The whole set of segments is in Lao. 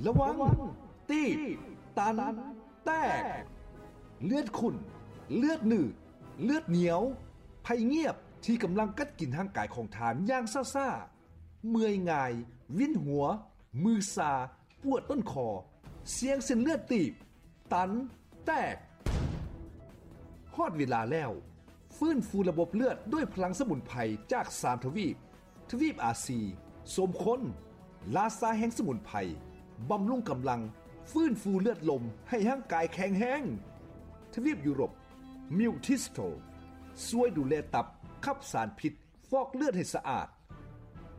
ລະວັງ! ຕີບ, ຕັນ, ແຕກ! ເລືອດຂຸ້ນ, ເລືອດໜືດ, ເລືອດໜຽວ, ໄພງຽບທີ່ກຳລັງກັດກິນຮ່າງກາຍຂອງທ່ານຢ່າງຊ້າໆ, ເມື່ອຍງ່າຍ, ວິນຫົວ, ມືຊາ, ປວດຕົ້ນຄໍ, ສ່ຽງເສັ້ນເລືອດຕີບ, ຕັນ, ແຕກ. ຮອດເວລາແລ້ວ! ຟື້ນຟູລະບົບເລືອດດ້ວຍພະລັງສະໝຸນໄພຈາກສາມທະວີບ, ທະວີບອາຊີ, ສົມຄົນ, ລາຊາແຫ່ງສະໝຸນໄພ, ບຳລຸງກຳລັງ, ຟື້ນຟູເລືອດລົມໃຫ້ຮ່າງກາຍແຂງແຮງ. ທະວີບຢູໂຣບ, ມິວທິສໂຕ, ຊ່ວຍດູແລຕັບ, ຂັບສານພິດ, ຟອກເລືອດໃຫ້ສະອາດ.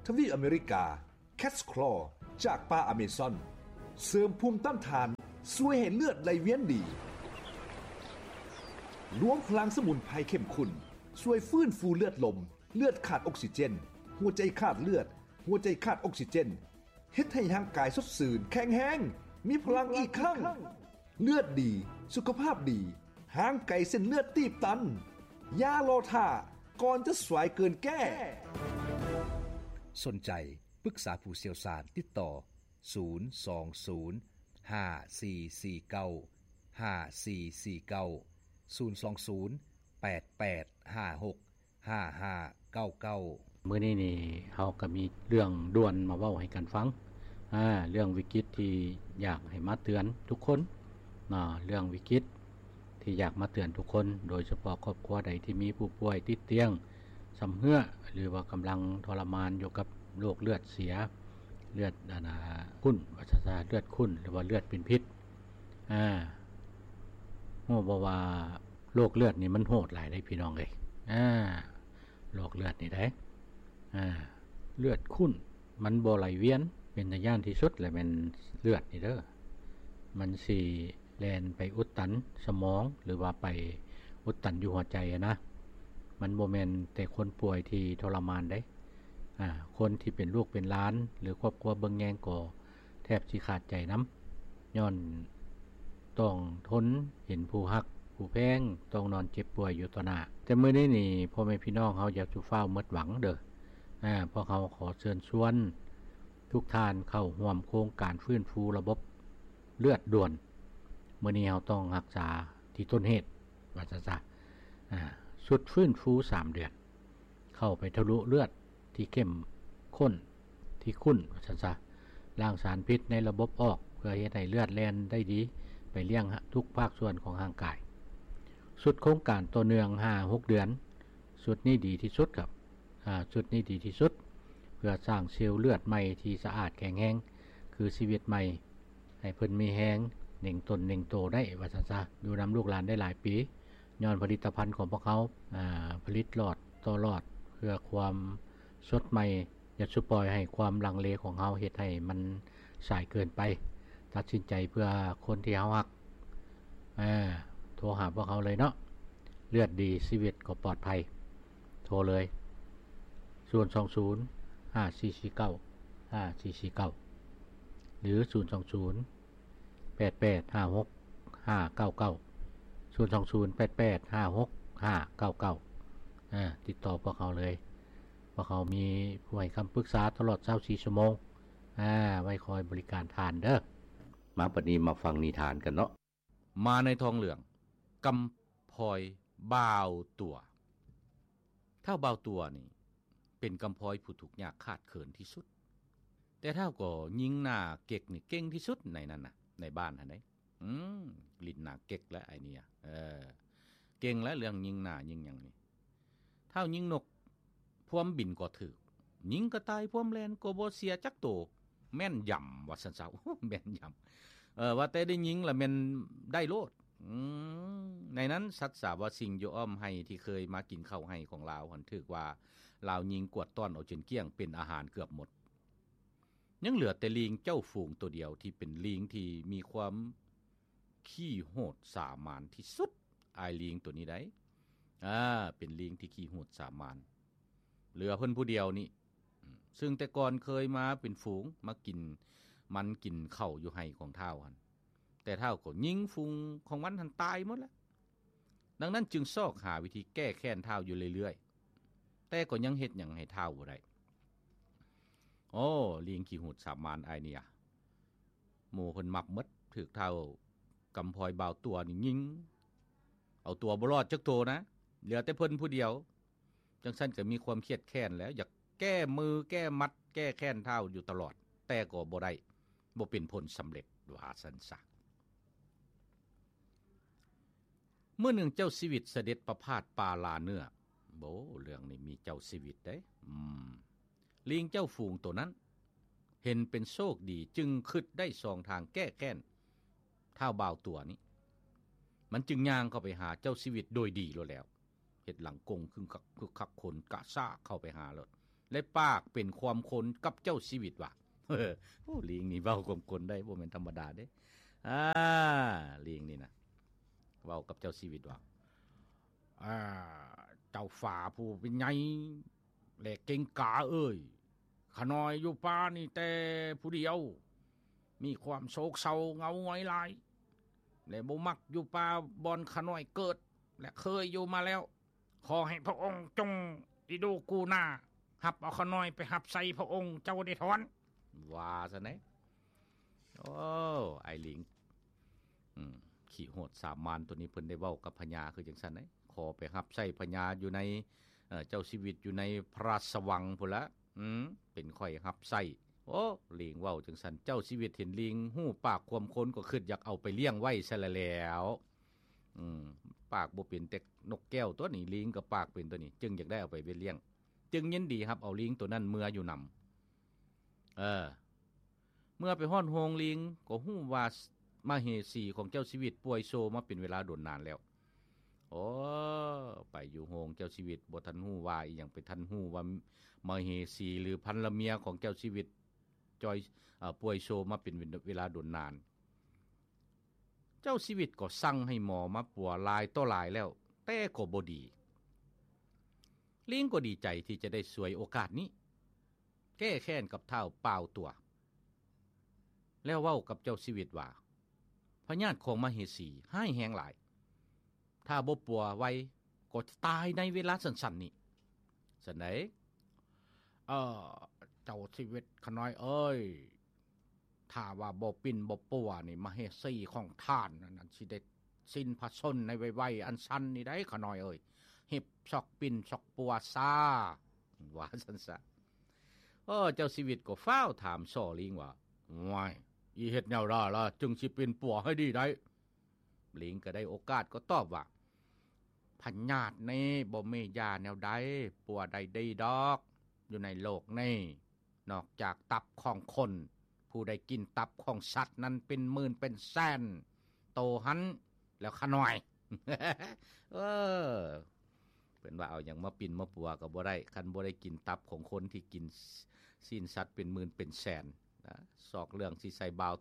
ທະວີບອາເມລິກາ, ແຄດສະຄລໍຈາກປ່າອາເມຊອນ ເສີມພູມຕ້ານທານ, ຊ່ວຍໃຫ້ເລືອດໄຫຼວຽນດີ. ລວມພະລັງສະໝຸນໄພເຂັ້ມຂຸ້ນ ຊ່ວຍຟື້ນຟູເລືອດລົມ, ເລືອດຂາດອົກຊີເຈນ, ຫົວໃຈຂາດເລືອດ, ຫົວໃຈຂາດອົກຊີເຈນ, ເຮັດໃຫ້ຮ່າງກາຍສົດຊື່ນ, ແຂງແຮງ, ມີພະລັງອີກຄັ້ງ. ເລືອດດີ, ສຸຂະພາບດີ, ຫ່າງໄກເສັ້ນເລືອດຕີບຕັນ. ຢ່າລໍຖ້າ, ກ່ອນຈະສວຍເກີນແກ້! ສົນໃຈ ປຶກສາຜູ້ຊ່ຽວຊານ ຕິດຕໍ່ ສູນສອງສູນ ຫ້າສີ່ສີ່ເກົ້າ ຫ້າສີ່ສີ່ເກົ້າ, ສູນສອງສູນ ແປດແປດຫ້າຫົກ ຫ້າຫ້າເກົ້າເກົ້າ. ມື້ນີ້ນີ້ເຮົາກໍມີເລື່ອງດ່ວນມາເວົ້າໃຫ້ກັນຟັງ, ອາ, ເລື່ອງວິກິດທີ່ຢາກໃຫ້ມາເຕືອນທຸກຄົນເນາະ, ເລື່ອງວິກິດທີ່ຢາກມາເຕືອນທຸກຄົນ, ໂດຍສະເພາະຄອບຄົວໃດທີ່ມີຜູ້ປ່ວຍຕິດຕຽງຊຳເຮື້ອ ຫຼືວ່າກຳລັງທໍລະມານຢູ່ກັບໂລກເລືອດເສຍ, ເລືອດ ອັນນ່າ ຂຸ້ນ ວ່າຊັ້ນຊະ, ເລືອດຂຸ້ນ ຫຼືວ່າເລືອດເປັນພິດ. ອາ, ຮູ້ບໍ່ວ່າໂລກເລືອດນີ້ມັນໂຫດຫຼາຍເດ້ພີ່ນ້ອງເອີຍ. ອາ, ໂລກເລືອດນີ້ເດ້. ອາ, ເລືອດຂຸ້ນ ມັນບໍ່ໄຫຼວຽນ, ເປັນຕາຢ້ານທີ່ສຸດແຫຼະແມ່ນເລືອດນີ້ເດີ. ມັນຊິແລ່ນໄປອຸດຕັນສະໝອງ ຫຼືວ່າໄປອຸດຕັນຢູ່ຫົວໃຈຫັ້ນນະ. ມັນບໍ່ແມ່ນແຕ່ຄົນປ່ວຍທີ່ທໍລະມານເດ້. ອາ, ຄົນທີ່ເປັນລູກເປັນຫຼານ ຫຼືຄອບຄົວເບິ່ງແຍງກໍ ແທບຊິຂາດໃຈນຳ, ຍ້ອນຕ້ອງທົນເຫັນຜູ້ຮັກຜູ້ແພງຕ້ອງນອນເຈັບປ່ວຍຢູ່ຕໍ່ໜ້າ. ແຕ່ມື້ນີ້ນີ້ ພໍ່ແມ່ພີ່ນ້ອງເຮົາຢ່າສູ່ຟ້າວໝົດຫວັງເດີ. ອາ, ພວກເຮົາຂໍເຊີນຊວນທຸກທ່ານເຂົ້າຮ່ວມໂຄງການຟື້ນຟູລະບົບເລືອດດ່ວນ. ມື້ນີ້ເຮົາຕ້ອງຮັກສາທີ່ຕົ້ນເຫດ ວ່າຊັ້ນຊະ. ອາ, ຊຸດຟື້ນຟູສາມເດືອນ ເຂົ້າໄປທະລຸເລືອດທີ່ເຂັ້ມຂຸ້ນ ທີ່ຂຸ້ນ ວ່າຊັ້ນຊະ, ລ້າງສານພິດໃນລະບົບອອກ ເພື່ອເຮັດໃຫ້ເລືອດແລ່ນໄດ້ດີໄປລ້ຽງທຸກພາກສ່ວນຂອງຮ່າງກາຍ. ຊຸດໂຄງການຕໍ່ເນື່ອງຫ້າຫົກເດືອນ, ຊຸດນີ້ດີທີ່ສຸດຄັບ, ອາ, ຊຸດນີ້ດີທີ່ສຸດ ເພື່ອສ້າງເຊວເລືອດໃໝ່ທີ່ສະອາດແຂງແຮງ ຄືຊີວິດໃໝ່. ໃຫ້ເພິ່ນມີແຮງເໜັງຕົນເໜັງໂຕໄດ້ ວ່າຊັ້ນຊະ, ຢູ່ນຳລູກຫຼານໄດ້ຫຼາຍປີ ຍ້ອນຜະລິດຕະພັນຂອງພວກເຮົາ ອາ ຜະລິດຫຼອດຕໍ່ຫຼອດ ເພື່ອຄວາມສົດໃໝ່. ຢ່າສູ່ປ່ອຍໃຫ້ຄວາມລັງເລຂອງເຮົາເຮັດໃຫ້ມັນສາຍເກີນໄປ. ຕັດສິນໃຈເພື່ອຄົນທີ່ເຮົາຮັກ. ອາ ໂທຫາພວກເຮົາເລີຍເນາະ. ເລືອດດີ ຊີວິດກໍປອດໄພ. ໂທເລີຍ ສູນສອງສູນ ຫ້າສີ່ສີ່ເກົ້າ ຫ້າສີ່ສີ່ເກົ້າ ຫຼື ສູນສອງສູນ ແປດແປດຫ້າຫົກຫ້າເກົ້າເກົ້າ ສູນສອງສູນ ແປດແປດຫ້າຫົກຫ້າເກົ້າເກົ້າ. ອາ ຕິດຕໍ່ພວກເຮົາເລີຍ. ພວກເຮົາມີຜູ້ໃຫ້ຄຳປຶກສາຕະຫຼອດຊາວສີ່ຊົ່ວໂມງ. ອາ ໄວ້ຄອຍບໍລິການທ່ານເດີ. ມາບັດນີ້ມາຟັງນິທານກັນເນາະ. ມາໃນທ້ອງເລື່ອງ ກຳພ້ອຍບ່າວຕົວ. ທ້າວບ່າວຕົວນີ້ ເປັນກຳພ້ອຍຜູ້ທຸກຍາກຂາດເຂີນທີ່ສຸດ, ແຕ່ທ້າວກໍຍິງໜ້າເກັກນີ້ເກັ່ງທີ່ສຸດໃນນັ້ນນະ ໃນບ້ານຫັ້ນເດ້. ອືມ ຫຼິ້ນໜ້າເກັກແຫຼະໄອ້ນີ້. ເອີ ເກັ່ງແຫຼະເລື່ອງຍິງໜ້າຍິງຫຍັງນີ້. ທ້າວຍິງນົກ ພວມບິນກໍຖືກ, ຍິງກະຕ່າຍພວມແລ່ນກໍບໍ່ເສຍຈັກໂຕ. ແມ່ນຢຳ ວ່າຊັ້ນຊະ. ໂອ້ ແມ່ນຢຳ. ເອີ ວ່າແຕ່ໄດ້ຍິງລະແມ່ນໄດ້ໂລດ. ອືມ ໃນນັ້ນ ສັດສາວາສິ່ງຢູ່ອ້ອມໄຮ່ທີ່ເຄີຍມາກິນເຂົ້າໄຮ່ຂອງລາວຫັ້ນ ຖືກວ່າລາວຍິງກວາດຕ້ອນເອົາຈົນກ້ຽງ ເປັນອາຫານເກືອບໝົດ. ຍັງເຫຼືອແຕ່ລີງເຈົ້າຝູງໂຕດຽວ ທີ່ເປັນລີງທີ່ມີຄວາມຂີ້ໂຫດສາມານທີ່ສຸດ. ອ້າຍລີງໂຕນີ້ໃດ໋ ອາ ເປັນລີງທີ່ຂີ້ໂຫດສາມານ. ເຫຼືອເພິ່ນຜູ້ດຽວນີ້ ອືມ ຊຶ່ງແຕ່ກ່ອນເຄີຍມາເປັນຝູງ ມາກິນມັນກິນເຂົ້າຢູ່ໄຮ່ຂອງທ້າວຫັ້ນ, ແຕ່ທ້າວກໍຍິງຝູງຂອງມັນຫັ້ນຕາຍໝົດແລ້ວ. ດັ່ງນັ້ນຈຶ່ງຊອກຫາວິທີແກ້ແຄ້ນທ້າວຢູ່ເລື້ອຍໆ, ແຕ່ກໍຍັງເຮັດຫຍັງໃຫ້ທ້າວບໍ່ໄດ້. ໂອ້ ລີງຂີ້ຫູດສາມານອ້າຍນີ້ອະ, ໝູ່ເພິ່ນມັບໝົດ ຖືກທ້າວກຳພອຍບ່າວຕົວນີ້ຍິງ ເອົາຕົວບໍ່ລອດຈັກໂຕນະ ເຫຼືອແຕ່ເພິ່ນຜູ້ດຽວ. ຈັ່ງຊັ້ນກໍມີຄວາມຄຽດແຄ້ນແລ້ວ ຢາກແກ້ມືແກ້ໝັດ ແກ້ແຄ້ນທ້າວຢູ່ຕະຫຼອດ ແຕ່ກໍບໍ່ໄດ້ ບໍ່ເປັນຜົນສຳເລັດ ວ່າຊັ້ນຊະ. ມື້ໜຶ່ງເຈົ້າຊີວິດສະເດັດປະພາດປ່າລ່າເນື້ອ. ໂອ້ ເລື່ອງນີ້ມີເຈົ້າຊີວິດເດ້. ອືມ ລີງເຈົ້າຝູງໂຕນັ້ນ ເຫັນເປັນໂຊກດີ ຈຶ່ງຄິດໄດ້ຊ່ອງທາງແກ້ແຄ້ນທ້າວບ່າວຕົວນີ້. ມັນຈຶ່ງຍ່າງເຂົ້າໄປຫາເຈົ້າຊີວິດໂດຍດີໂລດແລ້ວ. ເຮັດຫຼັງກົງຄຶກຄັກ ຄຶກຄັກ ຂົນກະຊາກເຂົ້າໄປຫາໂລດ ແລະ ປາກເປັນຄວາມຄົນກັບເຈົ້າຊີວິດວ່າ ໂອ້ ລີງນີ້ເວົ້າຄວາມຄົນໄດ້ ບໍ່ແມ່ນທຳມະດາເດ້. ອາ ລີງນີ້ນະ ເວົ້າກັບເຈົ້າຊີວິດວ່າ ອາ ເຈົ້າຟ້າຜູ້ເປັນໃຫຍ່ ແລະ ເກັງກາເອີຍ, ຂະນ້ອຍຢູ່ປ່ານີ້ແຕ່ຜູ້ດຽວ ມີຄວາມໂສກເສົ້າເຫງົາຫງອຍຫຼາຍ ແລະ ບໍ່ມັກຢູ່ປ່າບ່ອນຂະນ້ອຍເກີດ ແລະ ເຄີຍຢູ່ມາແລ້ວ. ຂໍໃຫ້ພະອົງຈົ່ງອິດູກູນາ ຮັບເອົາຂະນ້ອຍໄປຮັບໃຊ້ພະອົງເຈົ້າໄດ້ຖອນ ວ່າຊັ້ນເດ້. ໂອ້ ອ້າຍລິງ ອືມ ຂີ້ໂຫດສາມານໂຕນີ້ ເພິ່ນໄດ້ເວົ້າກັບພະຍາຄືຈັ່ງຊັ້ນເດ້. ຂໍໄປຮັບໃຊ້ພະຍາຢູ່ໃນ ເອີ ເຈົ້າຊີວິດຢູ່ໃນພະລາຊະວັງພຸ້ນລະ. ອືມ ເປັນຂ້ອຍຮັບໃຊ້. ໂອ້ ລີງເວົ້າຈັ່ງຊັ້ນ ເຈົ້າຊີວິດເຫັນລີງຮູ້ປາກຄວາມຄົນ ກໍຄິດຢາກເອົາໄປລ້ຽງໄວ້ຊະລະແລ້ວ. ອືມ ປາກບໍ່ເປັນແຕ່ນົກແກ້ວຕົວນີ້ ລີງກໍປາກເປັນຕົວນີ້ ຈຶ່ງຢາກໄດ້ເອົາໄປລ້ຽງ ຈຶ່ງຍິນດີຮັບເອົາລີງໂຕນັ້ນເມືອຢູ່ນຳ. ເອີ ເມື່ອໄປຮອດໂຮງລີງ ກໍຮູ້ວ່າມະເຫສີຂອງເຈົ້າຊີວິດປ່ວຍໂຊມາເປັນເວລາດົນນານແລ້ວ. ໂອ້ ໄປຢູ່ໂຮງເຈົ້າຊີວິດ ບໍ່ທັນຮູ້ວ່າອີ່ຫຍັງ ໄປທັນຮູ້ວ່າມະເຫສີ ຫຼື ພັນລະເມຍຂອງເຈົ້າຊີວິດ ຈ່ອຍ ເອີ ປ່ວຍໂຊມາເປັນເວລາດົນນານ. ເຈົ້າຊີວິດກໍສັ່ງໃຫ້ໝໍມາປົວຫຼາຍຕໍ່ຫຼາຍແລ້ວ ແຕ່ກໍບໍ່ດີ. ລີງກໍດີໃຈທີ່ຈະໄດ້ສວຍໂອກາດນີ້ ແກ້ແຄ້ນກັບທ້າວປ່າວຕົວ ແລ້ວເວົ້າກັບເຈົ້າຊີວິດວ່າ ພະຍາດຂອງມະເຫສີຮ້າຍແຮງຫຼາຍ ຖ້າບໍ່ປົວໄວກໍຈະຕາຍໃນເວລາສັ້ນໆນີ້. ຊັ້ນໃດ ເອີ ເຈົ້າຊີວິດຂະນ້ອຍເອີຍ ຖ້າວ່າບໍ່ປິ່ນບໍ່ປົວນີ້ ມະເຫສີຂອງທ່ານນັ້ນຊິໄດ້ສິ້ນພະຊົນໃນໄວໆອັນສັ້ນນີ້ໄດ໋ ຂະນ້ອຍເອີຍ. ຮີບຊອກປິ່ນຊອກປົວຊາ ວ່າຊັ້ນຊະ. ເອີ ເຈົ້າຊີວິດກໍຟ້າວຖາມສໍ່ລີງວ່າ ໂອ້ຍ ອີເຮັດແນວໃດລະຈຶ່ງຊິປິ່ນປົວໃຫ້ດີໄດ້? ລີງກໍໄດ້ໂອກາດກໍຕອບວ່າ ພະຍາດນີ້ບໍ່ມີຢາແນວໃດປົວໄດ້ດີດອກ ຢູ່ໃນໂລກນີ້ ນອກຈາກຕັບຂອງຄົນ ຜູ້ໃດກິນຕັບຂອງສັດນັ້ນເປັນໝື່ນເປັນແສນໂຕຫັ້ນແລ້ວຂະນ້ອຍ. ເອີ ເພິ່ນວ່າເອົາຫຍັງມາປິ່ນມາປົວກໍບໍ່ໄດ້ ຄັນບໍ່ໄດ້ກິນຕັບຂອງຄົນທີ່ກິນຊີ້ນສັດເປັນໝື່ນເປັນແສນນະ. ຊອກເລື່ອງຊິໃສ່ບ່າວ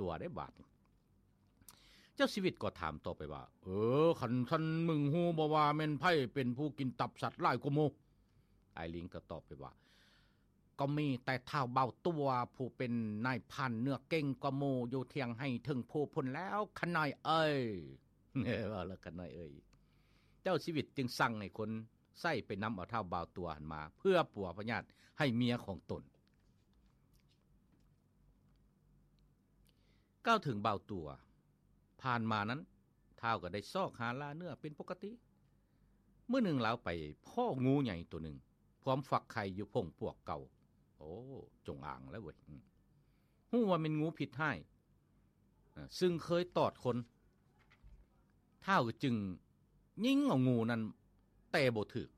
ຕົວໄດ້ບາດນີ້. ເຈົ້າຊີວິດກໍຖາມຕໍ່ໄປວ່າ ເອີ ຄັນຊັ້ນມຶງຮູ້ບໍ່ວ່າແມ່ນໃຜເປັນຜູ້ກິນຕັບສັດຫຼາຍກວ່າໝູ່? ອ້າຍລິງກໍຕອບໄປວ່າ ກໍມີແຕ່ທ້າວບ່າວຕົວ ຜູ້ເປັນນາຍພານເນື້ອເກັ່ງກວ່າໝູ່ຢູ່ທຽງໄຮ່ເທິງພູພຸ້ນແລ້ວ ຂະນ້ອຍເອີຍ. ເວົ້າແລ້ວຂະນ້ອຍເອີຍ. ເຈົ້າຊີວິດຈຶ່ງສັ່ງໃຫ້ຄົນໃຊ້ໄປນຳເອົາທ້າວບ່າວຕົວຫັ້ນມາ ເພື່ອປົວພະຍາດໃຫ້ເມຍຂອງຕົນ. ກ່າວເຖິງບ່າວຕົວ ຜ່ານມານັ້ນ ທ້າວກໍໄດ້ຊອກຫາລ່າເນື້ອເປັນປົກກະຕິ. ມື້ໜຶ່ງລາວໄປພໍ້ງູໃຫຍ່ໂຕໜຶ່ງ ພວມຟັກໄຂ່ຢູ່ພົງປວກເກົ່າ. ໂອ້ ຈົງອາງແລ້ວເວີຍ. ອືມ ຮູ້ວ່າແມ່ນງູພິດຮ້າຍ ເອີ ຊຶ່ງເຄີຍຕອດຄົນ. ທ້າວຈຶ່ງຍິງເອົາງູນັ້ນແຕ່ບໍ່ຖືກ.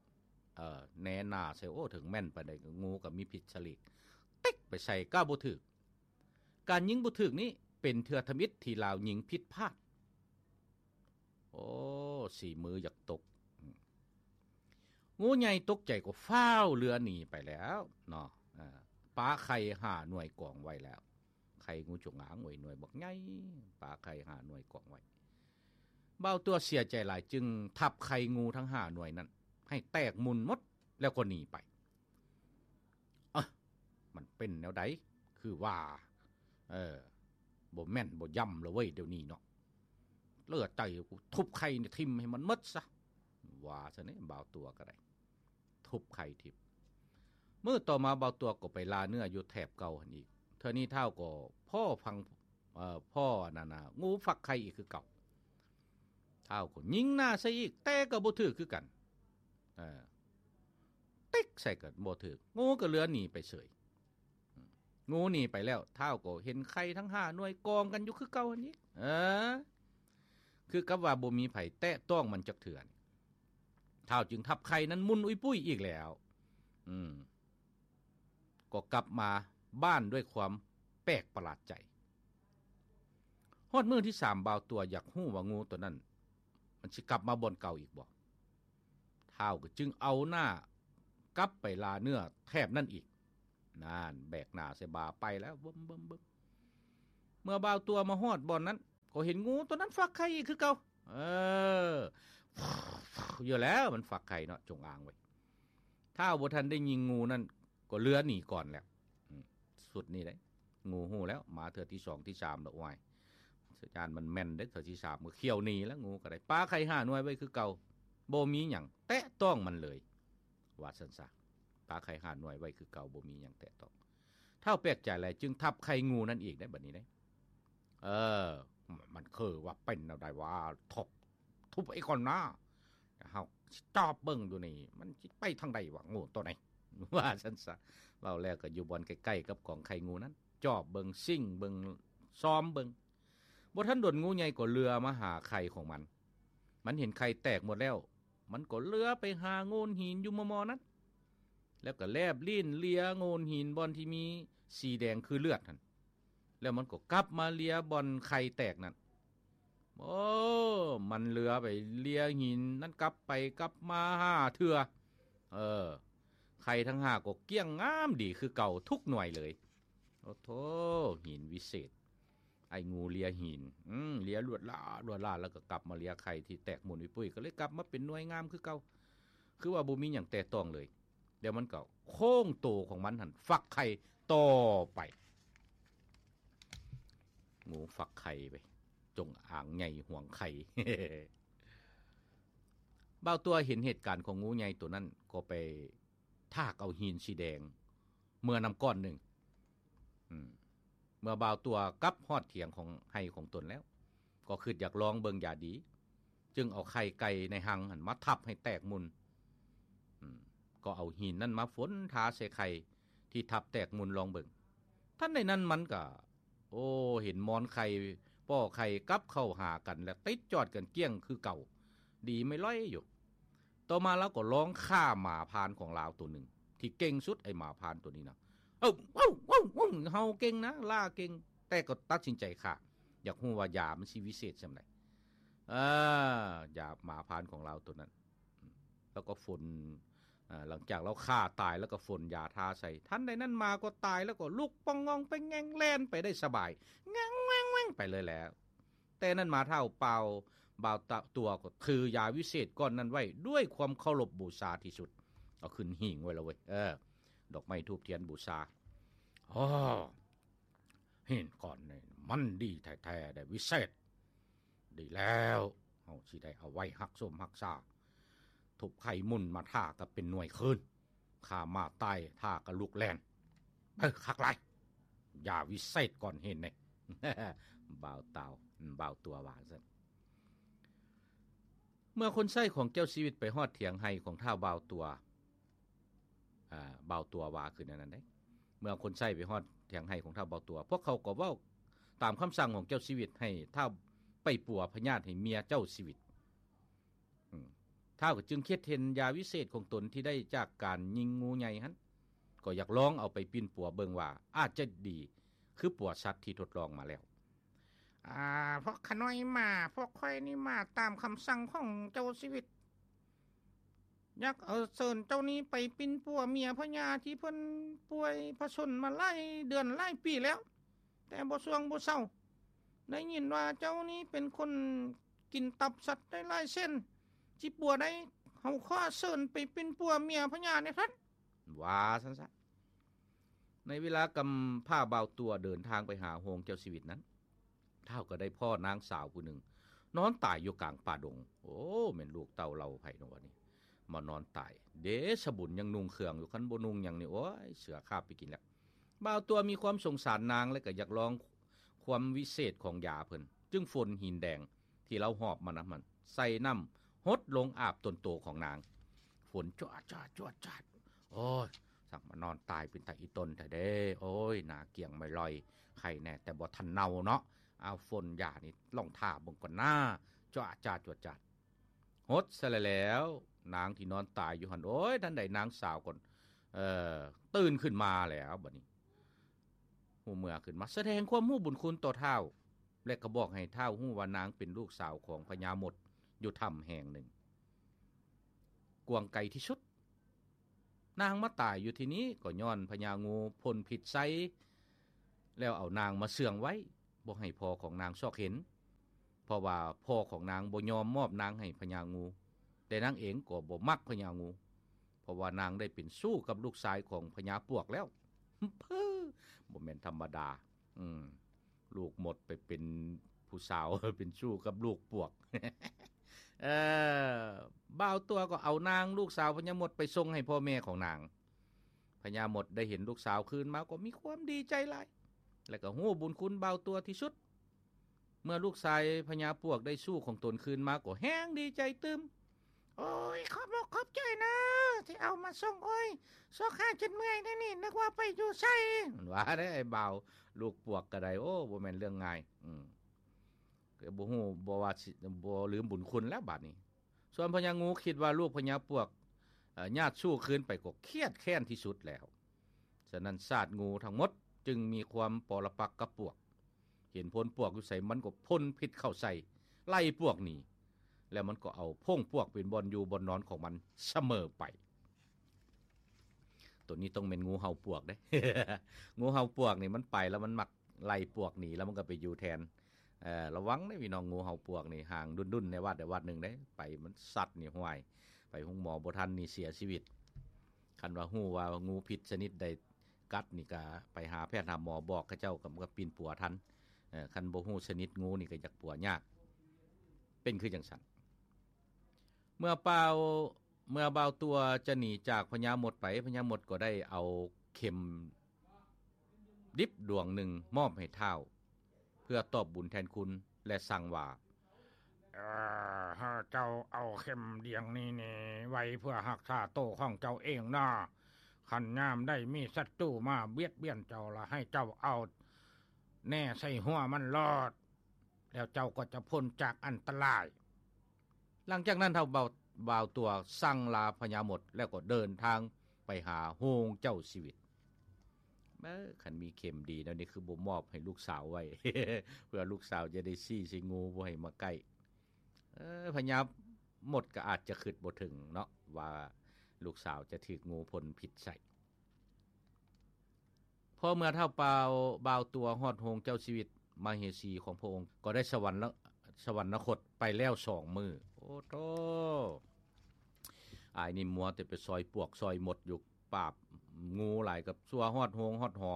ເອີ ແນໜ້າໃສ່ ໂອ້ ເຖິງແມ່ນປານໃດ ງູກໍມີພິດສະຫຼີກ ຕິກໄປໃສ່ກໍບໍ່ຖືກ. ການຍິງບໍ່ຖືກນີ້ເປັນເທື່ອທຳອິດທີ່ລາວຍິງຜິດພາດ. ໂອ້ ສີມືຢາກຕົກ. ອືມ ງູໃຫຍ່ຕົກໃຈກໍຟ້າວເລືອໜີໄປແລ້ວເນາະ. ເອີ ປາໄຂ່ຫ້າໜ່ວຍກອງໄວ້ແລ້ວ. ໄຂ່ງູຈົງອາງ ໂອ້ຍ ໜ່ວຍບັກໃຫຍ່ ປາໄຂ່ຫ້າໜ່ວຍກອງໄວ້. ບ່າວຕົວເສຍໃຈຫຼາຍ ຈຶ່ງທັບໄຂ່ງູທັງຫ້າໜ່ວຍນັ້ນໃຫ້ແຕກໝຸ່ນໝົດ ແລ້ວກໍໜີໄປ. ເອີ ມັນເປັນແນວໃດ ຄືວ່າ ເອີ ບໍ່ແມ່ນບໍ່ຢ່ຳລະເວີຍ ດຽວນີ້ເນາະ. ເລືອໃຈ ທຸບໄຂ່ນີ້ຖິ້ມໃຫ້ມັນໝົດຊະ ວ່າຊັ້ນເດ້. ບ່າວຕົວກໍໄດ້ທຸບໄຂ່ຖິ້ມ. ມື້ຕໍ່ມາບ່າວຕົວກໍໄປລ່າເນື້ອຢູ່ແຖບເກົ່າຫັ້ນອີກ. ເທື່ອນີ້ທ້າວກໍພໍ້ຟັງ ເອີ ພໍ້ອັນນັ້ນນະ ງູຟັກໄຂ່ອີກຄືເກົ່າ. ທ້າວກໍຍິງໜ້າໃສ່ອີກ ແຕ່ກໍບໍ່ຖືກຄືກັນ. ເອີ ຕິກໃສ່ກໍບໍ່ຖືກ ງູກໍເຫຼືອໜີໄປເສີຍ. ອືມ ງູໜີໄປແລ້ວ ທ້າວກໍເຫັນໄຂ່ທັງຫ້າໜ່ວຍກອງກັນຢູ່ຄືເກົ່າຫັ້ນອີກ. ເອີ ຄືກັບວ່າບໍ່ມີໃຜແຕະຕ້ອງມັນຈັກເທື່ອ. ທ້າວຈຶ່ງທັບໄຂ່ນັ້ນໝຸ່ນອຸ້ຍປຸ້ຍອີກແລ້ວ. ອືມ ກໍກັບມາບ້ານດ້ວຍຄວາມແປກປະຫຼາດໃຈ. ຮອດມື້ທີສາມ ບ່າວຕົວຢາກຮູ້ວ່າງູໂຕນັ້ນມັນຊິກັບມາບ່ອນເກົ່າອີກບໍ່. ທ້າວກໍຈຶ່ງເອົາໜ້າກັບໄປລ່າເນື້ອແຖບນັ້ນອີກ. ນັ້ນ ແບກໜ້າໃສ່ບ່າໄປແລ້ວ ເບິ່ມໆໆ. ເມື່ອບ່າວຕົວມາຮອດບ່ອນນັ້ນ ກໍເຫັນງູໂຕນັ້ນຟັກໄຂ່ອີກຄືເກົ່າ. ເອີ ຢູ່ແລ້ວ ມັນຟັກໄຂ່ເນາະ ຈົ່ງອາງໄວ້. ທ້າວບໍ່ທັນໄດ້ຍິງງູນັ້ນ ກໍເຫຼືອໜີກ່ອນແລ້ວ. ອືມ ຊຸດນີ້ເດ້ ງູຮູ້ແລ້ວ ມາເທື່ອທີສອງທີສາມແລ້ວ ໂອ້ຍ ຢ້ານມັນແມ່ນເດ້ ເທື່ອທີສາມກໍຂ້ຽວໜີແລ້ວ. ງູກໍໄດ້ປາໄຂ່ຫ້າໜ່ວຍໄວ້ຄືເກົ່າ ບໍ່ມີຫຍັງແຕະຕ້ອງມັນເລີຍ ວ່າຊັ້ນຊະ. ປາໄຂ່ຫ້າໜ່ວຍໄວ້ຄືເກົ່າ ບໍ່ມີຫຍັງແຕະຕ້ອງ. ທ້າວແປກໃຈຫຼາຍ ຈຶ່ງທັບໄຂ່ງູນັ້ນອີກໄດ້ ບັດນີ້ເດ້. ເອີ ມັນຄືວ່າເປັນແນວໃດວະ ທົບ ທຸບໄອ້ກ່ອນນາ ເຮົາຊິຈອບເບິ່ງຢູ່ນີ້ ມັນຊິໄປທາງໃດວະ ງູໂຕນີ້ ວ່າຊັ້ນຊະ. ເວົ້າແລ້ວກໍຢູ່ບ່ອນໃກ້ໆກັບກອງໄຂ່ງູນັ້ນ ຈອບເບິ່ງ ຊິງເບິ່ງ ຊອມເບິ່ງ. ບໍ່ທັນດົນ ງູໃຫຍ່ກໍເລື່ອມາຫາໄຂ່ຂອງມັນ. ມັນເຫັນໄຂ່ແຕກໝົດແລ້ວ ມັນກໍເລື່ອໄປຫາໂງ່ນຫີນຢູ່ມໍ່ໆນັ້ນ ແລ້ວກໍແລບລີ້ນເລຍໂງ່ນຫີນບ່ອນທີ່ມີສີແດງຄືເລືອດຫັ້ນ ແລ້ວມັນກໍກັບມາເລຍບ່ອນໄຂ່ແຕກນັ້ນ. ໂອ້ ມັນເລຍໄປເລຍຫີນນັ້ນກັບໄປກັບມາຫ້າເທື່ອ. ເອີ ໄຂ່ທັງຫ້າກໍກ້ຽງງາມດີຄືເກົ່າທຸກໜ່ວຍເລີຍ. ໂອ້ໂທ້ ຫີນວິເສດ ໄອ້ງູເລຍຫີນ ອືມ ເລຍລວດລາດ ລວດລາດ ແລ້ວກໍກັບມາເລຍໄຂ່ທີ່ແຕກໝຸ່ນອຸ້ຍປຸ້ຍ ກໍເລີຍກັບມາເປັນໜ່ວຍງາມຄືເກົ່າ ຄືວ່າບໍ່ມີຫຍັງແຕະຕ້ອງເລີຍ. ແລ້ວມັນກໍໂຄ້ງໂຕຂອງມັນຫັ້ນ ຟັກໄຂ່ຕໍ່ໄປ. ງູຟັກໄຂ່ໄປ ຈົ່ງອາງໃຫຍ່ຫວງໄຂ່. ບ່າວຕົວເຫັນເຫດການຂອງງູໃຫຍ່ໂຕນັ້ນ ກໍໄປ ຖາກເອົາຫີນສີແດງເມືອນຳກ້ອນໜຶ່ງ. ອືມ ເມື່ອບ່າວຕົວກັບຮອດຖຽງຂອງໄຮ່ຂອງຕົນແລ້ວ ກໍຄິດຢາກລອງເບິ່ງຢາດີ ຈຶ່ງເອົາໄຂ່ໄກ່ໃນຮັງຫັ້ນມາທັບໃຫ້ແຕກໝຸ່ນ. ອືມ ກໍເອົາຫີນນັ້ນມາຝົນທາໃສ່ໄຂ່ທີ່ທັບແຕກໝຸ່ນລອງເບິ່ງ. ທັນໃດນັ້ນມັນກໍ ໂອ້ ເຫັນມອນໄຂ່ ປໍ້ໄຂ່ກັບເຂົ້າຫາກັນ ແລະ ຕິດຈອດກັນກ້ຽງຄືເກົ່າ ດີໄມ່ລອຍຢູ່. ຕໍ່ມາລາວກໍລອງຂ້າໝາພານຂອງລາວໂຕໜຶ່ງ ທີ່ເກັ່ງສຸດ ໄອ້ໝາພານໂຕນີ້ນະ ເອົາ ເອົາ ເອົາ ເອົາ ເຫົ່າເກັ່ງນະ ລ່າເກັ່ງ ແຕ່ກໍຕັດສິນໃຈຂ້າ ຢາກຮູ້ວ່າຢາມັນຊິວິເສດສ່ຳໃດ. ເອີ ຢາໝາພານຂອງລາວໂຕນັ້ນ ແລ້ວກໍຝົນ ເອີ ຫຼັງຈາກລາວຂ້າຕາຍແລ້ວກໍຝົນຢາທາໃສ່ ທັນໃດນັ້ນໝາກໍຕາຍ ແລ້ວກໍລຸກປ່ອງງອງເປ່ງແງ່ງແລ່ນໄປໄດ້ສະບາຍ ແງ່ງແວ່ງແວ່ງໄປເລີຍແຫຼະ. ແຕ່ນັ້ນມາທ້າວເປົ່າ ບ່າວຕະ ຕົວກໍຖືຢາວິເສດກ້ອນນັ້ນໄວ້ດ້ວຍຄວາມເຄົາລົບບູຊາທີ່ສຸດ ເອົາຂຶ້ນຫິ້ງໄວ້ແລ້ວເວີຍ ເອີ ດອກໄມ້ທູບທຽນບູຊາ. ອໍ ຫີນກ້ອນນີ້ມັນດີແທ້ໆ ໄດ້ວິເສດ ດີແລ້ວ ເຮົາຊິໄດ້ເອົາໄວ້ຮັກສົມຮັກສາ ທຸບໄຂ່ໝຸ່ນມາທາກັບເປັນໜ່ວຍຄືນ ຂ້າໝາຕາຍທາກະລຸກແລ່ນ ເອີ ຄັກຫຼາຍ ຢາວິເສດກ້ອນຫີນນີ້ ບ່າວຕາວ ບ່າວຕົວວ່າຊັ້ນ. ເມື່ອຄົນໃຊ້ຂອງເຈົ້າຊີວິດໄປຮອດຖຽງໄຮ່ຂອງທ້າວບ່າວຕົວ ອ່າ ບ່າວຕົວວ່າຄືແນວນັ້ນເດ້ ເມື່ອຄົນໃຊ້ໄປຮອດຖຽງໄຮ່ຂອງທ້າວບ່າວຕົວ ພວກເຂົາກໍເວົ້າຕາມຄຳສັ່ງຂອງເຈົ້າຊີວິດ ໃຫ້ທ້າວໄປປົວພະຍາດໃຫ້ເມຍເຈົ້າຊີວິດ. ອືມ ທ້າວກໍຈຶ່ງຄິດເຫັນຢາວິເສດຂອງຕົນທີ່ໄດ້ຈາກການຍິງງູໃຫຍ່ຫັ້ນ ກໍຢາກລອງເອົາໄປປິ່ນປົວເບິ່ງວ່າອາດຈະດີຄືປົວສັດທີ່ທົດລອງມາແລ້ວ. ອ່າ ພວກຂ້ານ້ອຍມາ ພວກຂ້ອຍນີ້ມາຕາມຄຳສັ່ງຂອງເຈົ້າຊີວິດ ຢາກເອົາເຊີນເຈົ້ານີ້ໄປປິ່ນປົວເມຍພະຍາທີ່ເພິ່ນປ່ວຍພະຊົນມາຫຼາຍເດືອນຫຼາຍປີແລ້ວ ແຕ່ບໍ່ຊ່ວງບໍ່ເຊົາ. ໄດ້ຍິນວ່າເຈົ້ານີ້ເປັນຄົນກິນຕັບສັດໄດ້ຫຼາຍເຊັ່ນ ຊິປົວໄດ້ ເຮົາຂໍເຊີນໄປປິ່ນປົວເມຍພະຍາແດ່ທ່ານ ວ່າຊັ້ນຊະ. ໃນເວລາກຳພ້າບ່າວຕົວເດີນທາງໄປຫາໂຮງເຈົ້າຊີວິດນັ້ນ ທ້າວກໍໄດ້ພໍ້ນາງສາວຜູ້ໜຶ່ງນອນຕາຍຢູ່ກາງປ່າດົງ. ໂອ້ ແມ່ນລູກເຕົ້າເຫຼົ່າໃຜເນາະວະນີ້ ມານອນຕາຍ ເດຊະບຸນຍັງນຸ່ງເຄື່ອງຢູ່ ຄັນບໍ່ນຸ່ງຫຍັງນີ້ ໂອ້ຍ ເສືອຄາບໄປກິນແລ້ວ. ບ່າວຕົວມີຄວາມສົງສານນາງ ແລະ ກໍຢາກລອງ ຄວາມວິເສດຂອງຢາເພິ່ນ ຈຶ່ງຝົນຫີນແດງທີ່ລາວຫອບມານຳຫັ້ນ ໃສ່ນ້ຳຫົດລົງອາບຕົນໂຕຂອງນາງ. ຝົນຈວດຈາດຈວດຈາດ. ໂອ້ຍ ສັກມານອນຕາຍເປັນຕາອີ່ຕົນແທ້ເດ້. ໂອ້ຍ ໜ້າກ້ຽງໄມ້ລອຍ ໄຄແນ່ແຕ່ບໍ່ທັນເນົ່າເນາະ. ເອົາ ຝົນຢານີ້ລອງຖ້າເບິ່ງກ່ອນນາ. ຈວດຈາດຈວດຈາດ. ຫົດຊະແລ້ວ ນາງທີ່ນອນຕາຍຢູ່ຫັ້ນ ໂອ້ຍ ທັນໃດນາງສາວກໍ ເອີ ຕື່ນຂຶ້ນມາແລ້ວ. ບັດນີ້ຮູ້ເມື່ອຂຶ້ນມາ ສະແດງຄວາມຮູ້ບຸນຄຸນຕໍ່ທ້າວ ແລະ ກໍບອກໃຫ້ທ້າວຮູ້ວ່ານາງເປັນລູກສາວຂອງພະຍາມົດຢູ່ຖ້ຳແຫ່ງໜຶ່ງ ກວ້າງໄກທີ່ສຸດ. ນາງມາຕາຍຢູ່ທີ່ນີ້ກໍຍ້ອນພະຍາງູພົ່ນພິດໃສ່ ແລ້ວເອົານາງມາເຊື່ອງໄວ້ ບໍ່ໃຫ້ພໍ່ຂອງນາງຊອກເຫັນ ເພາະວ່າພໍ່ຂອງນາງບໍ່ຍອມມອບນາງໃຫ້ພະຍາງູ, ແຕ່ນາງເອງກໍບໍ່ມັກພະຍາງູ ເພາະວ່ານາງໄດ້ເປັນຊູ້ກັບລູກຊາຍຂອງພະຍາປວກແລ້ວ. ບໍ່ແມ່ນທຳມະດາ. ອືມ ລູກມົດໄປເປັນຜູ້ສາວ ເປັນຊູ້ກັບລູກປວກ. ເອີ ບ່າວຕົວກໍເອົານາງລູກສາວພະຍາມົດໄປສົ່ງໃຫ້ພໍ່ແມ່ຂອງນາງ. ພະຍາມົດໄດ້ເຫັນລູກສາວຄືນມາກໍມີຄວາມດີໃຈຫຼາຍ ແລະ ກໍຮູ້ບຸນຄຸນບ່າວຕົວທີ່ສຸດ. ເມື່ອລູກຊາຍພະຍາປວກໄດ້ຊູ້ຂອງຕົນຄືນມາ ກໍແຮ່ງດີໃຈຕື່ມ. ໂອ້ຍ ຂອບອົກຂອບໃຈນະ ທີ່ເອົາມາສົ່ງ. ໂອ້ຍ ຊອກຫາຈົນເມື່ອຍແນວນີ້ ນຶກວ່າໄປຢູ່ໃສ. ວ່າໄດ້ ອ້າຍບ່າວລູກປວກກໍໄດ້. ໂອ້ ບໍ່ແມ່ນເລື່ອງງ່າຍ. ອືມ ກໍບໍ່ຮູ້ ບໍ່ວ່າຊິ ບໍ່ລືມບຸນຄຸນແລ້ວບາດນີ້. ສ່ວນພະຍາງູຄິດວ່າລູກພະຍາປວກ ເອີ ຍາດສູ້ຄືນໄປກໍຄຽດແຄ້ນທີ່ສຸດແລ້ວ. ສະນັ້ນຊາດງູທັງໝົດຈຶ່ງມີຄວາມປໍລະປັກກັບປວກ. ເຫັນພົ່ນປວກຢູ່ໃສ ມັນກໍພົ່ນພິດເຂົ້າໃສ່ ໄລ່ປວກໜີ ແລ້ວມັນກໍເອົາໂພງປວກເປັນບ່ອນຢູ່ບ່ອນນອນຂອງມັນສະເໝີໄປ. ໂຕນີ້ຕ້ອງແມ່ນງູເຫົ່າປວກເດ້. ງູເຫົ່າປວກນີ້ມັນໄປແລ້ວມັນມັກໄລ່ປວກໜີ ແລ້ວມັນກໍໄປຢູ່ແທນ. ເອີ ລະວັງເດ້ພີ່ນ້ອງ ງູເຫົ່າປວກນີ້ ຫາງດຸ້ນໆ ໃນວັດໃດວັດໜຶ່ງເດ້ ໄປມັນສັດນີ້ ຫ້ວຍ ໄປໂຮງໝໍບໍ່ທັນນີ້ເສຍຊີວິດ. ຄັນວ່າຮູ້ວ່າງູພິດຊະນິດໃດກັດນີ້ ກະໄປຫາແພດຫາໝໍ ບອກເຂົາເຈົ້າ ກໍ ກໍປິ່ນປົວທັນ. ເອີ ຄັນບໍ່ຮູ້ຊະນິດງູນີ້ ກໍຢາກປົວຍາກ. ເປັນຄືຈັ່ງຊັ້ນ. ເມື່ອບ່າວ ເມື່ອບ່າວຕົວຈະໜີຈາກພະຍາມົດໄປ ພະຍາມົດກໍໄດ້ເອົາເຂັມດິບດວງໜຶ່ງມອບໃຫ້ທ້າວ ເພື່ອຕອບບຸນແທນຄຸນ ແລະ ສັ່ງວ່າ ເອີ ໃຫ້ເຈົ້າເອົາເຂັມດຽງນີ້ນີ້ໄວ້ເພື່ອຮັກສາໂຕຂອງເຈົ້າເອງນະ. ຄັນຍາມໃດມີສັດຕູມາບຽດບຽນເຈົ້າລະ ໃຫ້ເຈົ້າເອົາແໜ່ໃສ່ຫົວມັນໂລດ ແລ້ວເຈົ້າກໍຈະພົ້ນຈາກອັນຕະລາຍ. ຫຼັງຈາກນັ້ນທ້າວບ່າວ ບ່າວຕົວສັ່ງລາພະຍາມົດ ແລ້ວກໍເດີນທາງໄປຫາໂຮງເຈົ້າຊີວິດ. ເອີ ຄັນມີເຂັມດີແນວນີ້ ຄືບໍ່ມອບໃຫ້ລູກສາວໄວ້ ເພື່ອລູກສາວຈະໄດ້ຊີ້ໃສ່ງູ ບໍ່ໃຫ້ມາໃກ້. ເອີ ພະຍາມົດກໍອາດຈະຄິດບໍ່ເຖິງເນາະ ວ່າລູກສາວຈະຖືກງູພົ່ນພິດໃສ່. ພໍເມື່ອທ້າວບ່າວ ບ່າວຕົວຮອດໂຮງເຈົ້າຊີວິດ ມະເຫສີຂອງພະອົງກໍໄດ້ສະຫວັນ ສະຫວັນນະຄົດໄປແລ້ວສອງມື້. ໂອ້ໂທ້ ອ້າຍນີ້ມົວແຕ່ໄປຊອຍປວກຊອຍມົດຢູ່ ປາບງູຫຼາຍ ກັບຊົ່ວຮອດໂຮງຮອດຫໍ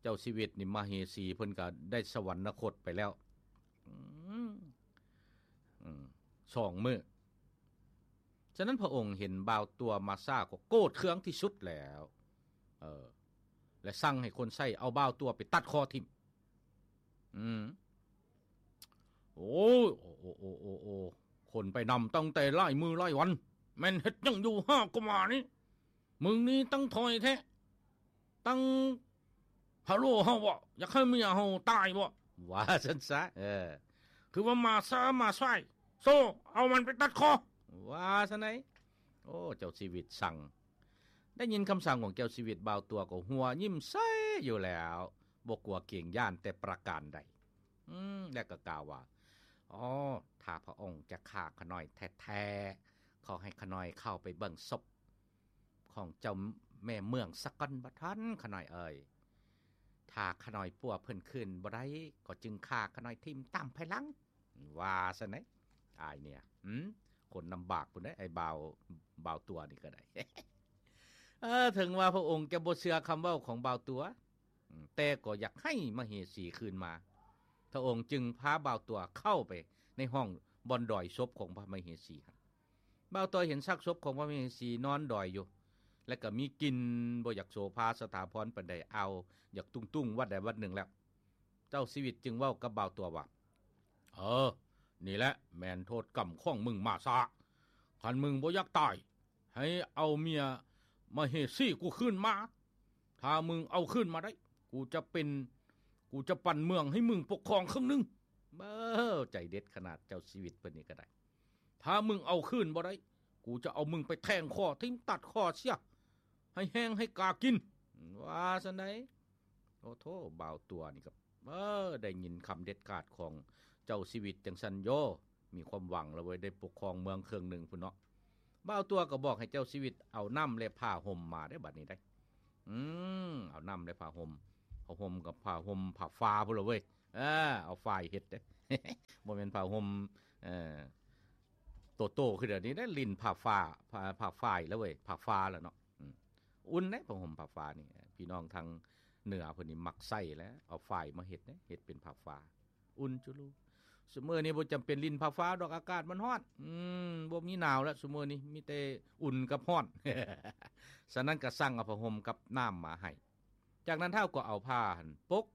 ເຈົ້າຊີວິດນີ້ ມະເຫສີເພິ່ນກໍໄດ້ສະຫວັນນະຄົດໄປແລ້ວ ອືມ ອືມ ສອງມື້. ສະນັ້ນພະອົງເຫັນບ່າວຕົວມາຊ້າກໍໂກດເຄືອງທີ່ສຸດແລ້ວ ເອີ ແລະ ສັ່ງໃຫ້ຄົນໃຊ້ເອົາບ່າວຕົວໄປຕັດຄໍຖິ້ມ. ອືມ ໂອ້ຍ ໂອ້ ໂອ້ ຄົນໄປນຳຕັ້ງແຕ່ຫຼາຍມື້ຫຼາຍວັນ ແມ່ນເຮັດຫຍັງຢູ່ຫາກະມານີ້? ມຶງນີ້ຕັ້ງຖອຍແທ້ ຕັ້ງພະໂລເຮົາບໍ? ຢາກໃຫ້ເມຍເຮົາຕາຍບໍ? ວ່າຊັ້ນຊະ. ເອີ ຄືວ່າມາຊ້າມາສາຍ ໂຊ ເອົາມັນໄປຕັດຄໍ ວ່າຊັ້ນໃດ. ໂອ້ ເຈົ້າຊີວິດສັ່ງ ໄດ້ຍິນຄຳສັ່ງຂອງເຈົ້າຊີວິດ ບ່າວຕົວກໍຫົວຍິ້ມໃສຢູ່ແລ້ວ ບໍ່ກົວເກງຢ້ານແຕ່ປະການໃດ. ອືມ ແລ້ວກໍກ່າວວ່າ ອໍ ຖ້າພະອົງຈະຂ້າຂ້ານ້ອຍແທ້ໆ ຂໍໃຫ້ຂ້ານ້ອຍເຂົ້າໄປເບິ່ງສົບຂອງເຈົ້າແມ່ເມືອງສາກ່ອນບໍທ່ານຂ້ານ້ອຍເອີຍ. ຖ້າຂ້ານ້ອຍປົວເພິ່ນຄືນບໍ່ໄດ້ ກໍຈຶ່ງຂ້າຂ້ານ້ອຍຖິ້ມຕາມພາຍຫຼັງ. ວ່າຊັ້ນໃດ ອ້າຍເນຍ ອືມ ຄົນລຳບາກພຸ້ນເດ້ ອ້າຍບ່າວ ບ່າວຕົວນີ້ກໍໄດ້. ເອີ ເຖິງວ່າພະອົງຈະບໍ່ເຊື່ອຄຳເວົ້າຂອງບ່າວຕົວ ອືມ ແຕ່ກໍຢາກໃຫ້ມະເຫສີຄືນມາ. ພະອົງຈຶ່ງພາບ່າວຕົວເຂົ້າໄປໃນຫ້ອງບ່ອນດອຍສົບຂອງພະມະເຫສີຫັ້ນ. ບ່າວຕົວເຫັນຊາກສົບຂອງພະມະເຫສີນອນດອຍຢູ່ ແລະ ກໍມີກິ່ນບໍ່ຢາກໂສພາສະຖາພອນປານໃດ ອ້າວ ຢາກຕຸງໆວັດໃດວັດໜຶ່ງແລ້ວ. ເຈົ້າຊີວິດຈຶ່ງເວົ້າກັບບ່າວຕົວວ່າ ເອີ ນີ້ແຫຼະແມ່ນໂທດກຳຂອງມຶງໝາຊ້າ. ຄັນມຶງບໍ່ຢາກຕາຍ ໃຫ້ເອົາເມຍມະເຫສີກູຄືນມາ. ຖ້າມຶງເອົາຄືນມາໄດ້ ກູຈະເປັນ ກູຈະປັນເມືອງໃຫ້ມຶງປົກຄອງເຄິ່ງໜຶ່ງ. ເອີ ໃຈເດັດຂະໜາດເຈົ້າຊີວິດເພິ່ນນີ້ກໍໄດ້. ຖ້າມຶງເອົາຄືນບໍ່ໄດ້ ກູຈະເອົາມຶງໄປແທງຄໍຖິ້ມຕັດຄໍເສຍ ໃຫ້ແຫ້ງໃຫ້ກາກິນ. ວ່າຊັ້ນໃດ. ໂອ້ໂທ້ ບ່າວຕົວນີ້ກໍ ເອີ ໄດ້ຍິນຄຳເດັດຂາດຂອງເຈົ້າຊີວິດຈັ່ງຊັ້ນໂຍ ມີຄວາມຫວັງແລ້ວເວີຍ ໄດ້ປົກຄອງເມືອງເຄິ່ງໜຶ່ງພຸ້ນເນາະ. ບ່າວຕົວກໍບອກໃຫ້ເຈົ້າຊີວິດເອົານ້ຳ ແລະ ຜ້າຫົ່ມມາເດ້ ບັດນີ້ໄດ໋. ອືມ ເອົານ້ຳ ແລະ ຜ້າຫົ່ມ ຜ້າຫົ່ມກັບຜ້າຫົ່ມ ຜ້າຝາພຸ້ນລະເວີຍ. ເອີ ເອົາຝ້າຍເຮັດເດ້ ບໍ່ແມ່ນຜ້າຫົ່ມ ເອີ ໂຕໆ ຄືດຽວນີ້ເດ້ ຫຼິ້ນຜ້າຝາ ຜ້າ ຜ້າຝ້າຍລະເວີຍ ຜ້າຝາລະເນາະ. ອືມ ອຸ່ນເດ້ ຜ້າຫົ່ມຜ້າຝານີ້ ພີ່ນ້ອງທາງເໜືອເພິ່ນນີ້ມັກໃຊ້ແຫຼະ ເອົາຝ້າຍມາເຮັດເດ້ ເຮັດເປັນຜ້າຝາ ອຸ່ນຈຸລູ. ຊຸມື້ນີ້ບໍ່ຈຳເປັນຫຼິ້ນຜ້າຝາດອກ ອາກາດມັນຮ້ອນ. ອືມ ບໍ່ມີໜາວແລ້ວຊຸມື້ນີ້ ມີແຕ່ອຸ່ນກັບຮ້ອນ. ສະນັ້ນກໍສັ່ງເອົາຜ້າຫົ່ມກັບນ້ຳມາໃຫ້. ຈາກນັ້ນທ້າວກໍເອົາຜ້າຫັ້ນປົກ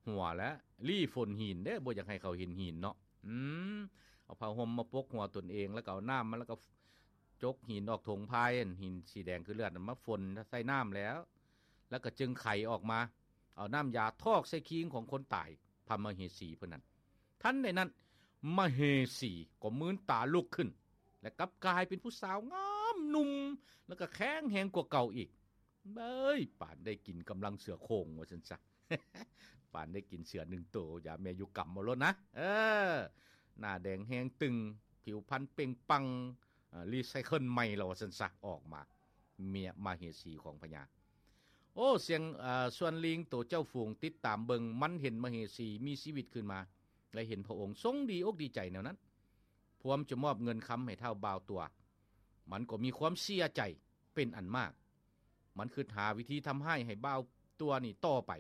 ຫົວ ແລະ ລີ້ຝົນຫີນເດ້ ບໍ່ຢາກໃຫ້ເຂົາເຫັນຫີນເນາະ. ອືມ ເອົາຜ້າຫົ່ມມາປົກຫົວຕົນເອງ ແລ້ວກໍເອົານ້ຳມາ ແລ້ວກໍຈົກຫີນອອກຖົງພາຍ ຫີນສີແດງຄືເລືອດນັ້ນມາຝົນໃສ່ນ້ຳແລ້ວ ແລ້ວກໍຈຶ່ງໄຂອອກມາ ເອົານ້ຳຢາຖອກໃສ່ຄີງຂອງຄົນຕາຍ ພະມະເຫສີເພິ່ນນັ້ນ. ທັນໃດນັ້ນ ມະເຫສີກໍມືນຕາລຸກຂຶ້ນ ແລະ ກັບກາຍເປັນຜູ້ສາວງາມໜຸ່ມ ແລ້ວກໍແຂງແຮງກວ່າເກົ່າອີກ. ເອີຍ ປານໄດ້ກິນກຳລັງເສືອໂຄ່ງວ່າຊັ້ນຊະ ປານໄດ້ກິນເສືອໜຶ່ງໂຕ ຢາແມ່ຢູ່ກຳເອົາໂລດນະ. ເອີ ໜ້າແດງແຮງຕຶງ ຜິວພັນເປັ່ງປັງ ເອີ ຣີໄຊເຄິນໃໝ່ແລ້ວວ່າຊັ້ນຊະ ອອກມາ ເມຍມະເຫສີຂອງພະຍາ. ໂອ້ ສຽງ ເອີ ສ່ວນລີງໂຕເຈົ້າຝູງຕິດຕາມເບິ່ງ ມັນເຫັນມະເຫສີມີຊີວິດຂຶ້ນມາ ແລະ ເຫັນພະອົງຊົງດີອົກດີໃຈແນວນັ້ນ ພວມຈະມອບເງິນຄຳໃຫ້ທ້າວບ່າວຕົວ ມັນກໍມີຄວາມເສຍໃຈເປັນອັນມາກ. ມັນຄິດຫາວິທີທຳຮ້າຍໃຫ້ບ່າວຕົວນີ້ຕໍ່ໄປ.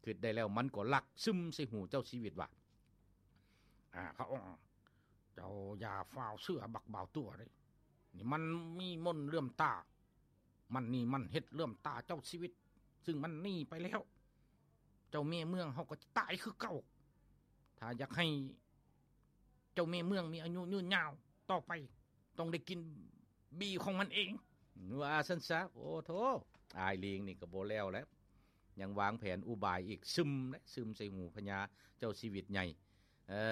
ຄິດໄດ້ແລ້ວມັນກໍລັກຊຶມໃສ່ຫູເຈົ້າຊີວິດວ່າ ອາ ພະອົງ ເຈົ້າຢ່າຟ້າວເຊື່ອບັກບ່າວຕົວເດ້. ນີ້ມັນມີມົນເຫຼື່ອມຕາ. ມັນນີ້ມັນເຮັດເຫຼື່ອມຕາເຈົ້າຊີວິດ ຊຶ່ງມັນໜີໄປແລ້ວ. ເຈົ້າແມ່ເມືອງເຮົາກໍຈະຕາຍຄືເກົ່າ. ຖ້າຢາກໃຫ້ເຈົ້າແມ່ເມືອງມີອາຍຸຍືນຍາວຕໍ່ໄປ ຕ້ອງໄດ້ກິນບີຂອງມັນເອງ ວ່າຊັ້ນຊະ. ໂອ້ໂທ້ ອ້າຍລີງນີ້ກໍບໍ່ແລ້ວແລ້ວ ຍັງວາງແຜນອຸບາຍອີກ ຊຶມເດ້ ຊຶມໃສ່ຫູພະຍາເຈົ້າຊີວິດໃຫຍ່. ເອີ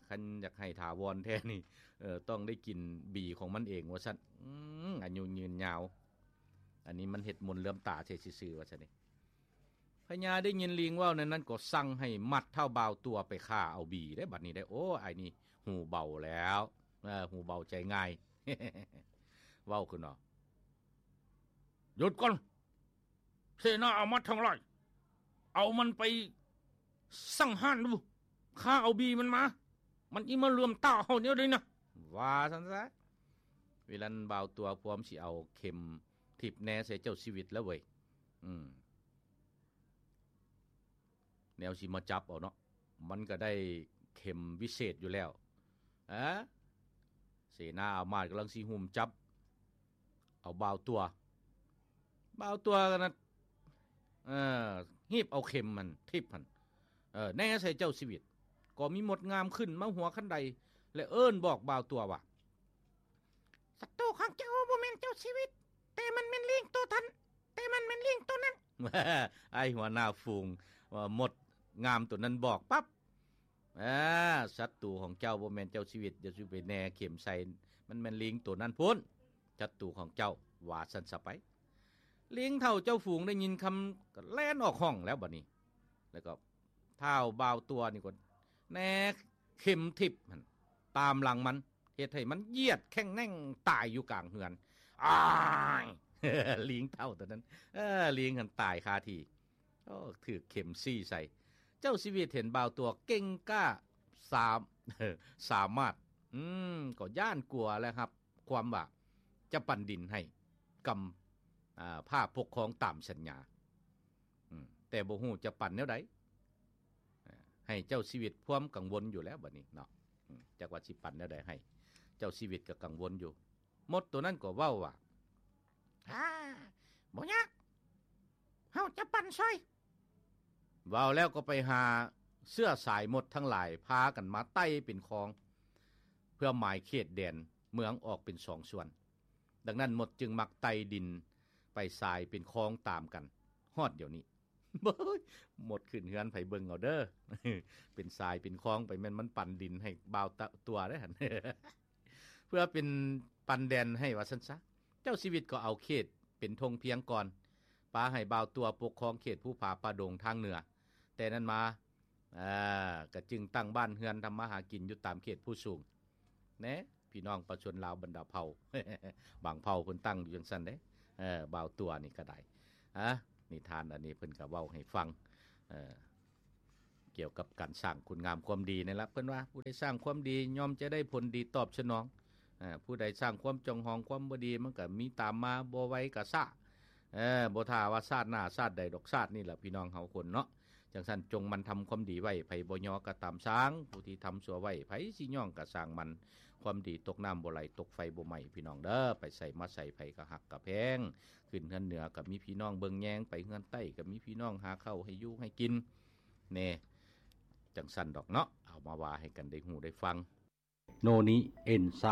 ຄັນຢາກໃຫ້ຖາວອນແທ້ນີ້ ເອີ ຕ້ອງໄດ້ກິນບີຂອງມັນເອງວ່າຊັ້ນ. ອືມ ອາຍຸຍືນຍາວ ອັນນີ້ມັນເຮັດມົນເຫຼື່ອມຕາໃສ່ຊື່ໆ ວ່າຊັ້ນເດ. ພະຍາໄດ້ຍິນລີງເວົ້າແນວນັ້ນ ກໍສັ່ງໃຫ້ມັດທ້າວບ່າວຕົວໄປຂ້າເອົາບີເດ້ ບັດນີ້ໄດ້. ໂອ້ ອ້າຍນີ້ຫູເບົາແລ້ວ ເອີ ຫູເບົາໃຈງ່າຍ ເວົ້າຂຶ້ນວ່າ ຢຸດກ່ອນ ເສນາອາມາດທັງຫຼາຍ ເອົາມັນໄປສັງຫານດູ ຂ້າເອົາບີມັນມາ ມັນອີ່ມາເຫຼື່ອມຕາເຮົາແນວໃດນະ ວ່າຊັ້ນຊະ. ເວລານັ້ນບ່າວຕົວພວມຊິເອົາເຂັມທິບແນໃສ່ເຈົ້າຊີວິດແລ້ວເວີຍ. ອືມ ແນວຊິມາຈັບເອົາເນາະ ມັນກໍໄດ້ເຂັມວິເສດຢູ່ແລ້ວ. ອາ ເສນາອາມາດກຳລັງຊິຫຸ້ມຈັບເອົາບ່າວຕົວ ບ່າວຕົວນັ້ນ ເອີ ຮີບເອົາເຂັມຫັ້ນ ທິບຫັ້ນ ເອີ ແນໃສ່ເຈົ້າຊີວິດ. ກໍມີມົດງາມຂຶ້ນມາຫົວຄັນໄດ ແລະ ເອີ້ນບອກບ່າວຕົວວ່າ ສັດຕູຂອງເຈົ້າບໍ່ແມ່ນເຈົ້າຊີວິດ ແຕ່ມັນແມ່ນລີງໂຕນັ້ນ ແຕ່ມັນແມ່ນລີງໂຕນັ້ນ. ອ້າຍຫົວໜ້າຝູງວ່າ ມົດງາມໂຕນັ້ນບອກປັບ ອາ ສັດຕູຂອງເຈົ້າບໍ່ແມ່ນເຈົ້າຊີວິດ ຢ່າສູ່ໄປແນເຂັມໃສ່ ມັນແມ່ນລີງໂຕນັ້ນພຸ້ນ ສັດຕູຂອງເຈົ້າ ວ່າຊັ້ນຊະໄປ. ລີງເຖົ້າເຈົ້າຝູງໄດ້ຍິນຄຳ ກໍແລ່ນອອກຫ້ອງແລ້ວບັດນີ້ ແລ້ວກໍທ້າວບ່າວຕົວນີ້ກໍແນເຂັມທິບຫັ້ນຕາມຫຼັງມັນ ເຮັດໃຫ້ມັນຢຽດແຂ້ງແໜ້ງຕາຍຢູ່ກາງເຮືອນ. ອ້າຍ ລີງເຖົ້າໂຕນັ້ນ ເອີ ລີງຫັ້ນຕາຍຄາທີ່. ໂອ້ ຖືກເຂັມຊີ້ໃສ່. ເຈົ້າຊີວິດເຫັນບ່າວຕົວເກັ່ງກ້າ ສາມ ສາມາດ ອືມ ກໍຢ້ານກົວແລ້ວຮັບຄວາມວ່າຈະປັນດິນໃຫ້ກຳ ອາ ພາປົກຄອງຕາມສັນຍາ ອືມ ແຕ່ບໍ່ຮູ້ຈະປັນແນວໃດ ອາ ໃຫ້ເຈົ້າຊີວິດພວມກັງວົນຢູ່ແລ້ວບັດນີ້ເນາະ. ອືມ ຈັກວ່າຊິປັນແນວໃດໃຫ້ ເຈົ້າຊີວິດກໍກັງວົນຢູ່. ມົດໂຕນັ້ນກໍເວົ້າວ່າ ອາ ບໍ່ຍາກ ເຮົາຈະປັນຊ່ອຍ. ເວົ້າແລ້ວກໍໄປຫາ ເຊື້ອສາຍມົດທັງຫຼາຍພາກັນມາໄຕ່ເປັນຄອງ ເພື່ອໝາຍເຂດແດນເມືອງອອກເປັນສອງສ່ວນ. ດັ່ງນັ້ນມົດຈຶ່ງມັກໄຕ່ດິນໄປສາຍເປັນຄອງຕາມກັນຮອດດຽວນີ້. ໂອ້ຍ ມົດຂຶ້ນເຮືອນໃຜເບິ່ງເອົາເດີ້ ເປັນສາຍເປັນຄອງໄປ ແມ່ນມັນປັນດິນໃຫ້ບ່າວຕະ ຕົວເດີ້ຫັ້ນ ເພື່ອເປັນປັນແດນໃຫ້ວ່າຊັ້ນຊະ. ເຈົ້າຊີວິດກໍເອົາເຂດເປັນທົ່ງພຽງກ່ອນ ປະໃຫ້ບ່າວຕົວປົກຄອງເຂດພູຜາປ່າດົງທາງເໜືອ. ແຕ່ນັ້ນມາ ອ່າ ກະຈຶ່ງຕັ້ງບ້ານເຮືອນທຳມາຫາກິນຢູ່ຕາມເຂດພູສູງແນະ ພີ່ນ້ອງປະຊາຊົນລາວບັນດາເຜົ່າ ບາງເຜົ່າເພິ່ນຕັ້ງຢູ່ຈັ່ງຊັ້ນເດ້. ເອີ ບ່າວຕົວນີ້ກະໄດ້ ອາ ນິທານອັນນີ້ເພິ່ນກະເວົ້າໃຫ້ຟັງ ເອີ ກ່ຽວກັບການສ້າງຄຸນງາມຄວາມດີນີ້ລະ. ເພິ່ນວ່າ ຜູ້ໃດສ້າງຄວາມດີ ຍ່ອມຈະໄດ້ຜົນດີຕອບສະໜອງ. ເອີ ຜູ້ໃດສ້າງຄວາມຈອງຫອງຄວາມບໍ່ດີ ມັນກະມີຕາມມາ ບໍ່ໄວກະຊ້າ. ເອີ ບໍ່ຖ້າວ່າຊາດໜ້າຊາດໃດດອກ ຊາດນີ້ລະ ພີ່ນ້ອງເຮົາຄົນເນາະ. ຈັ່ງຊັ້ນ ຈົ່ງໝັ່ນທຳຄວາມດີໄວ້ ໃຜບໍ່ຍໍກະຕາມຊ່າງ ຜູ້ທີ່ທຳຊົ່ວໄວ້ ໃຜຊິຍ້ອງກະຊ່າງມັນ. ຄວາມດີຕົກນ້ຳບໍ່ໄຫຼ ຕົກໄຟບໍ່ໄໝ້ ພີ່ນ້ອງເດີ້. ໄປໃສມາໃສ ໃຜກະຮັກກະແພງ ຂຶ້ນເຮືອນເໜືອກະມີພີ່ນ້ອງເບິ່ງແຍງ ໄປເຮືອນໃຕ້ກະມີພີ່ນ້ອງຫາເຂົ້າໃຫ້ຢູ່ໃຫ້ກິນແນ່. ຈັ່ງຊັ້ນດອກເນາະ ເອົາມາວ່າໃຫ້ກັນໄດ້ຮູ້ໄດ້ຟັງ. ໂນນິເອັນໄຊ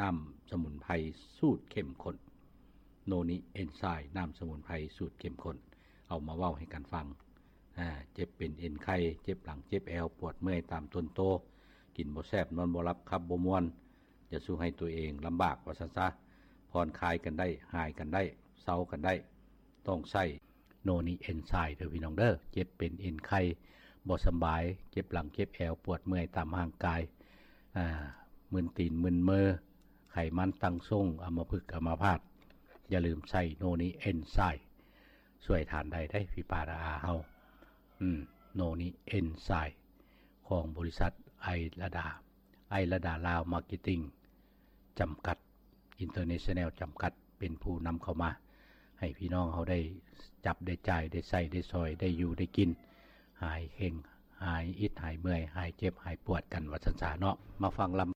ນ້ຳສະໝຸນໄພສູດເຂັ້ມຂຸ້ນ. ໂນນິເອັນໄຊ ນ້ຳສະໝຸນໄພສູດເຂັ້ມຂຸ້ນ ເອົາມາເວົ້າໃຫ້ກັນຟັງ. ອາ ເຈັບເປັນເອັນໄຂ່ ເຈັບຫຼັງເຈັບແອວ ປວດເມື່ອຍຕາມຕົນໂຕ ກິນບໍ່ແຊບ ນອນບໍ່ຫຼັບ ຂັບບໍ່ມ່ວນ ຈະສູ່ໃຫ້ຕົວເອງລຳບາກວ່າຊັ້ນຊະ. ຜ່ອນຄາຍກັນໄດ້ ຫາຍກັນໄດ້ ເຊົາກັນໄດ້ ຕ້ອງໃຊ້ໂນນິເອັນໄຊເດີ້ພີ່ນ້ອງເດີ້. ເຈັບເປັນເອັນໄຂ່ ບໍ່ສຳບາຍ ເຈັບຫຼັງເຈັບແອວ ປວດເມື່ອຍຕາມຮ່າງກາຍ ອາ ມຶນຕີນມຶນມື ໄຂມັນຕັ້ງຊົງ ອຳມະພຶກອຳມະພາດ ຢ່າລືມໃຊ້ໂນນິເອັນໄຊ ຊ່ວຍທ່ານໄດ້ເດ້ພີ່ປ້ານ້າອາເຮົາ. ອືມ ໂນນິເອັນໄຊ ຂອງບໍລິສັດໄອລະດາ ໄອລະດາລາວມາເກັດຕິງ ຈຳກັດ ອິນເຕີເນຊັນແນວ ຈຳກັດ ເປັນຜູ້ນຳເຂົ້າມາ ໃຫ້ພີ່ນ້ອງເຮົາໄດ້ຈັບໄດ້ຈ່າຍ ໄດ້ໃຊ້ໄດ້ສອຍ ໄດ້ຢູ່ໄດ້ກິນ ຫາຍເຄັ່ງ ຫາຍອິດຫາຍເມື່ອຍ ຫາຍເຈັບຫາຍປວດກັນວ່າຊັ້ນຊະເນາະ. ມາຟັງລຳ